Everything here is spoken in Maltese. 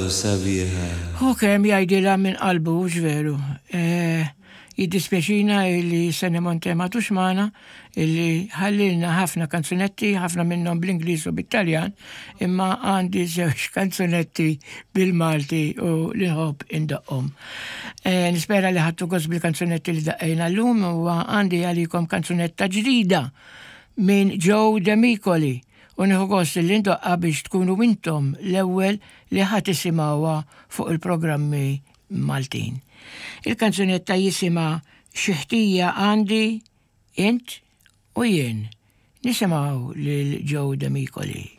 Sabiħa. Hu kemm jgħidilha minn qalbu, hux veru? Jiddispjaċina li Sonny Monte m'għadux magħna, illi ħallilna ħafna kanzunetti, ħafna minnhom bl-Ingliż u bit-Taljan, imma għandi żewġ kanzunetti bil-Malti u li nħobb indoqqhom. Nispera li ħadtu gost bil-kanzunetti li daqqejna llum u għandi għalikom kanzunetta ġdida minn Joe Demicoli. U nieħu gost li ndoqqha biex tkunu intom l-ewwel li ħa tisimgħuha fuq il-programmi Maltin. Il-kanzunetta jisimha Xi ħtija għandi int u jien. Nisimgħu lil Joe Demicoli.